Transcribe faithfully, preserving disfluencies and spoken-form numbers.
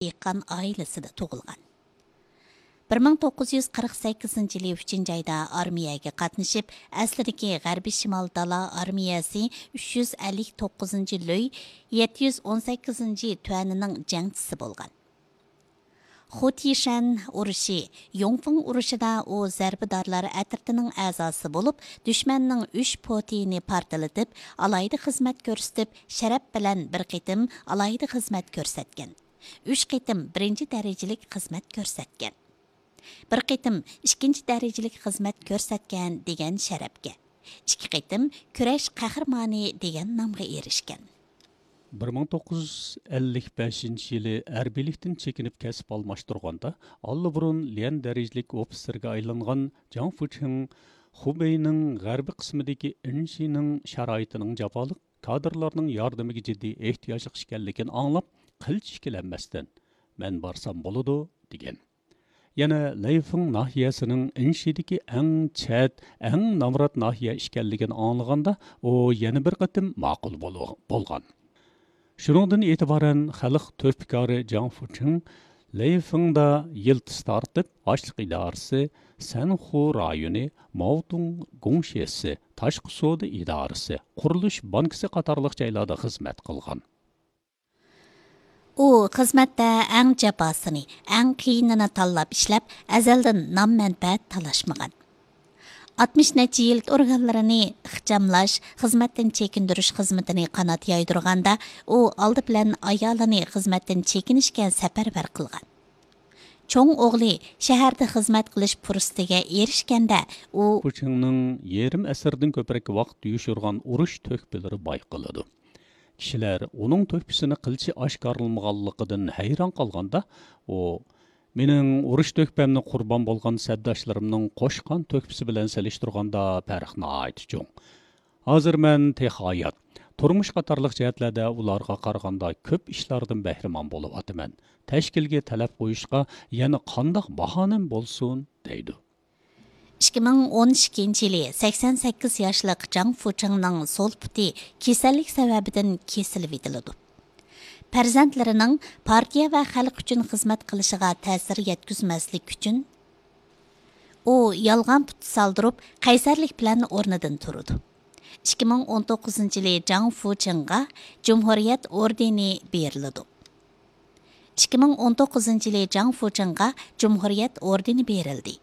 دېھقان ئائىلىسىدە تۇغۇلغان. بىر مىڭ توققۇز يۈز قىرىق سەككىزىنچى يىلى ئۈچىنچى ئايدا ئارمىيەگە قاتنىشىپ، ئەسلىدىكى غەربىي شىمال دالا ئارمىيەسى ئۈچ يۈز ئەللىك توققۇزىنچى لۆي يەتتە يۈز ئون سەككىزىنچى تۈەنىنىڭ جەڭچىسى بولغان. خۇتىشەن ئۇرۇشى، يۇڭفېڭ ئۇرۇشىدا ئۇ زەربىدارلار ئەترىتىنىڭ ئەزاسى بولۇپ، دۈشمەننىڭ ئۈچ پوتىيىنى پارتلىتىپ، ئالاھىدە خىزمەت كۆرسىتىپ، شەرەپ بىلەن بىر قېتىم ئالاھىدە خىزمەت كۆرسەتكەن. ئۈچ قېتىم بىرىنچى دەرىجىلىك خىزمەت كۆرسەتكەن. بىر قېتىم ئىككىنچى دەرىجىلىك خىزمەت كۆرسەتكەن دېگەن شەرەپكە، ئىككى قېتىم كۈرەش قەھرىمانى دېگەن نامغا ئېرىشكەن. بىر مىڭ توققۇز يۈز ئەللىك بەشىنچى يىلى ھەربىيلىكتىن چېكىنىپ كەسىپ ئالماشتۇرغاندا، ئاللىبۇرۇن ليەن دەرىجىلىك ئوفىتسېرغا ئايلانغان جاڭ فۇچىڭ خۇبېينىڭ غەربىي قىسمىدىكى ئىنشىنىڭ شارائىتىنىڭ جاپالىق، كادىرلارنىڭ ياردىمىگە جىددىي ئېھتىياجلىق ئىكەنلىكىنى ئاڭلاپ، قىلچە ئىككىلەنمەستىن، «مەن بارسام بولىدۇ» دېگەن. يەنە لەيفېڭ ناھىيەسىنىڭ ئىنشىدىكى ئەڭ چەت، ئەڭ نامرات ناھىيە ئىكەنلىكىنى ئاڭلىغاندا، ئۇ يەنە بىر قېتىم ماقۇل بولۇ-، بولغان. شۇنىڭدىن ئېتىبارەن خەلق تۆھپىكارى جاڭ فۇچىڭ لەيفېڭدا يىلتىز تارتىپ، ئاشلىق ئىدارىسى، سەنخۇ رايونى، ماۋتۇڭ گۇڭشېسى، تاشقى سودا ئىدارىسى، قۇرۇلۇش بانكىسى قاتارلىق جايلاردا خىزمەت قىلغان. ئۇ خىزمەتتە ئەڭ جاپاسىنى، ئەڭ قىيىنىنى تاللاپ ئىشلەپ، ئەزەلدىن نام-مەنپەئەت تالاشمىغان. ئاتمىش نەچچە يىل ئورگانلىرىنى ئىخچاملاش، خىزمەتتىن چېكىندۈرۈش خىزمىتىنى قانات يايدۇرغاندا، ئۇ ئالدى بىلەن ئايالىنى خىزمەتتىن چېكىنىشكە سەپەرۋەر قىلغان. چوڭ ئوغلى شەھەردە خىزمەت قىلىش پۇرسىتىگە ئېرىشكەندە، ئۇ فۇچىڭنىڭ يېرىم ئەسىردىن كۆپرەك ۋاقىت يوشۇرغان ئۇرۇش تۆھپىلىرى بايقىلىدۇ. كىشىلەر ئۇنىڭ تۆھپىسىنى قىلچە ئاشكارىلىمىغانلىقىدىن ھەيران قالغاندا، ئۇ، «مېنىڭ ئۇرۇش تۆھپەمنى قۇربان بولغان سەپداشلىرىمنىڭ قوشقان تۆھپىسى بىلەن سېلىشتۇرغاندا پەرق ناھايىتى چوڭ. ھازىر مەن تېخى ھايات، تۇرمۇش قاتارلىق جەھەتلەردە ئۇلارغا قارىغاندا كۆپ ئىشلاردىن بەھرىمەن بولۇۋاتىمەن. تەشكىلگە تەلەپ قويۇشقا يەنە قانداق باھانەم بولسۇن؟» دەيدۇ. ئىككى مىڭ ئون ئىككىنچى يىلى سەكسەن سەككىز ياشلىق جاڭ فۇچىڭنىڭ سول پۇتى كېسەللىك سەۋەبىدىن كېسىلىۋېتىلىدۇ. پەرزەنتلىرىنىڭ پارتىيە ۋە خەلق ئۈچۈن خىزمەت قىلىشىغا تەسىر يەتكۈزمەسلىك ئۈچۈن، ئۇ يالغان پۇت سالدۇرۇپ، قەيسەرلىك بىلەن ئورنىدىن تۇرىدۇ. ئىككى مىڭ ئون توققۇزىنچى يىلى جاڭ فۇچىڭغا جۇمھۇرىيەت ئوردېنى بېرىلىدۇ. ئىككى مىڭ ئون توققۇزىنچى يىلى جاڭ فۇچىڭغا جۇمھۇرىيەت ئوردېنى بېرىلدى.